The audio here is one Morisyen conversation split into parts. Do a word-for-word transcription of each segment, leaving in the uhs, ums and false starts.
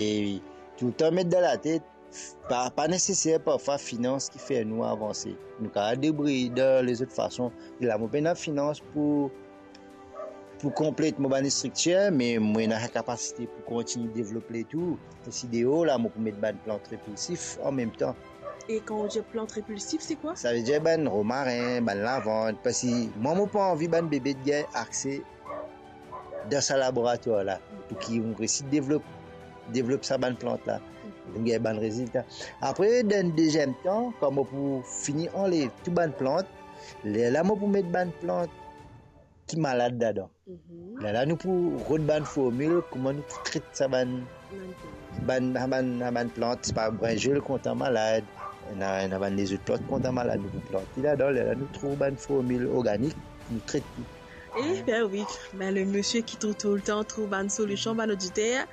E toultan met dan latet, pa, pa neseser parfwa finans ki fer nou avanse. Nou kapav debrouy dan lezot fason. La mo pena finans pou, pou konplet mo bann striktir, me mo ena kapasite pou kontign devlop letou. Osi deor la, mo pou met bann plant repilsif anmemtan. E kan ou dir plant repilsif, se kwa? Savedir bann romaren, bann lavand, parski mwa, mo pa anvi bann bebe gagn akse dan sa laboratwar la, pou ki nou resi devlop, devlop sa bann plant la, pou gagn bann rezilta. Apre, dan deziem tan, kan mo pou fini anlev tou bann plant, lerla mo pou met bann plant ki malad ladan. Mhm. Lerla nou pou rod bann formil, kouma nou pou tret sa bann, bann, bann, bann plant, pa brinzel kontan malad, ena, ena bann lezot plant kontan malad, nou pou plant li ladan, lerla nou trouv bann formil organik, nou tret li. Eh ben oui, ben le misie ki trouv toultan trouv bann solision, bann oditer,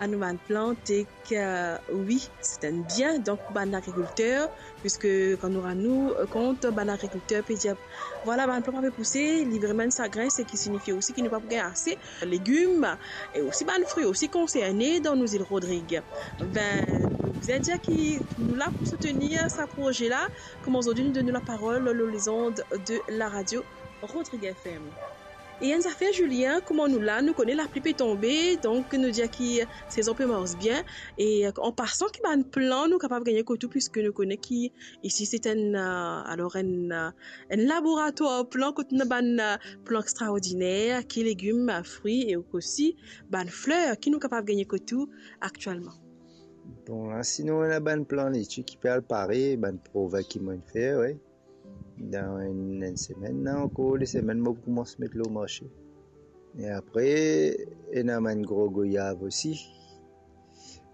a nou bann plant, e ke, wi, se enn bien, donk, pou bann agrikilter, piske kan nou rann nou kont, bann agrikilter pe dir, vwala, bann plant pa pe pouse, li vremem enn sagrin, seki sinifie osi ki nou pa pou gagn ase legim, e osi bann fri osi konserne dan nou zil Rodrig. Ben, nou bizin dir ki nou la pou soutenir sa proze la, kouma zordi nou donn nou laparol lor lezond de la radio Rodrig F M. E enn zafer, Julien, kouma nou la, nou kone lapli pe tonbe, donk nou dir ki sezon pe mars bien. E, euh, an pasan, ki bann plan nou kapav gagne kot ou, piske nou kone ki isi se enn, euh, alor enn, euh, enn laboratwar plan, kot nou ena bann, euh, plan extraordiner, ki legim, euh, fri e osi bann fler, ki nou kapav gagne kot ou aktielman? Bon, la, sinon, ena bann plan leti ki pe al pare, bann provin ki mo'nn fer, wi. Dan enn, enn semenn la, ankor de semenn, mo pou koumans met lor marse. E apre, ena bann gro goyav osi.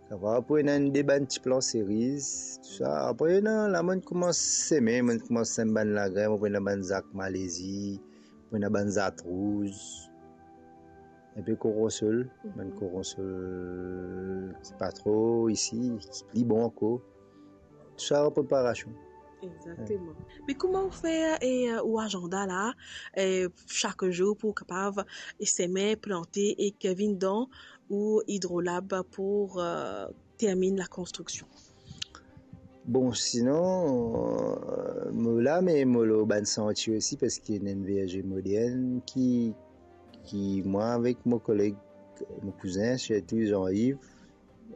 Sa va, apre ena enn de bann ti plan seriz, tou sa. Apre, ena, la, mo'nn koumans seme, mo'nn koumans sem bann lagrin, apre ena bann zak Malezi, apre ena bann zat rouz, enpe koronsol, bann koronsol ki pa tro isi, ki pli bon ankor. Tou sa an preparasion. Exactement. Me kouma ou fer, e, euh, ou azanda la, e, sak zour pou kapav, e, seme, plante e ki vinn dan ou idrolab pou, euh, terminn lakonstriksion? Bon, sinon, euh, mo la, me mo lor bann santie osi, parski ena enn verze modern ki, ki mwa avek mo koleg, mo kouzin, sirtou Jean-Yves,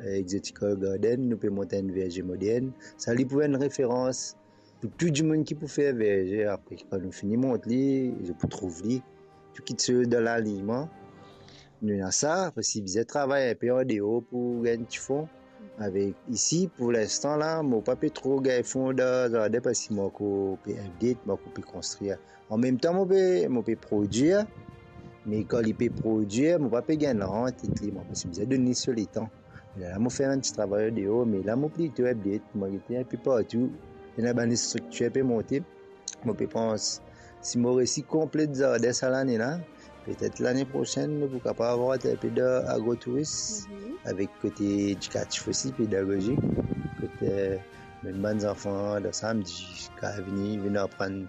euh, Exotical Garden, nou pe mont enn verze modern. Sa li pou enn referans pou tou dimoun ki pou fer verze. Apre, kan nou fini mont li, zot pou trouv li, tou kitsoz dan lalinyman. Nou ena sa, parski bizin travay enpe andeor pou gagn ti fon. Avek isi, pou linstan la, mo pa pe tro gagn fon dan zardin, parski mo ankor pe update, mo ankor pe konstrir. Anmemtan, mo pe, mo pe prodwir, me kan li pe prodwir, mo pa pe gagn rant ek li, mo pe bizin donn li so letan. Lerla mo fer enn ti travay deor, me la mo plito update, mo gete enpe partou, ena bann striktir pe monte. Mo pe pans, si mo resi konplet zardin sa lane la, petet lane prosenn, nou pou kapav rant enpe dan agrotouris, avek kote edikatif osi, pedagozik, kot, euh, menm bann zanfan dan samdi, kapav vini, vinn aprann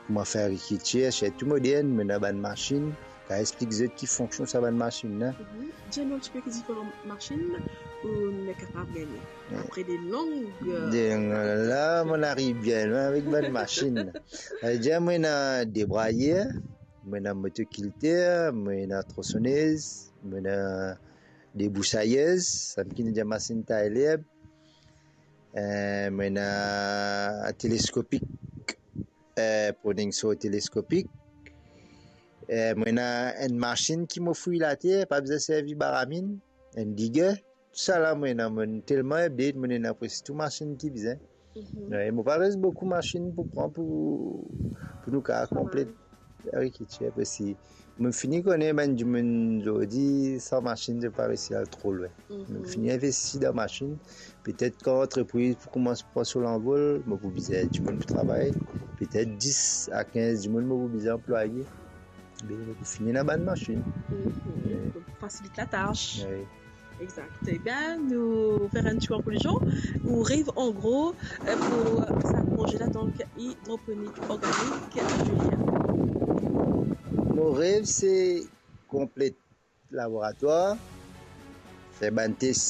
kouma fer agrikiltir, sirtou modern, mo ena bann masinn, kapav explik zot ki fonksion sa bann masinn la. Mhm. Dir nou enn tipe ki diferan masinn ou'nn kapav gagne. Apre de long, euh, de long, la, mo'nn ariv bien lwin avek bann masinn. Savedir, mo ena debrayer, mo ena motokilter, mo ena tronsonez, mo ena debousayez, sa ki nou dir masinn tay lerb, euh, mo ena teleskopik, euh, pruning saw teleskopik. Euh, mo ena enn masinn ki mo fouy later, pa bizin servi baraminn, enn digger. Tou sa la mo ena, mo telman update, mo ena preski tou masinn ki bizin. Mhm. Wi, mo pa res boukou masinn pou pran pou, pou nou kapav konplet agrikiltir, parski mo fini kone bann dimoun zordi, san masinn, zot pa resi al tro lwin. Mhm. Mo fini investi dan masinn. Petet kan lantrepriz pou koumans pran so lanvol, mo pou bizin dimoun pou travay. Petet dis a kinz dimoun mo pou bizin anplwaye. Be mo pou fini ena bann masinn. Mhm. Wi. Pou fasilit latas. Wi. Exact. Ebien, nou fer enn ti konklizion. Ou rev an gro, euh, pou, euh, sa proze la, donk, idroponik organik, Julien? Mo rev se konplet laboratwar, fer bann tes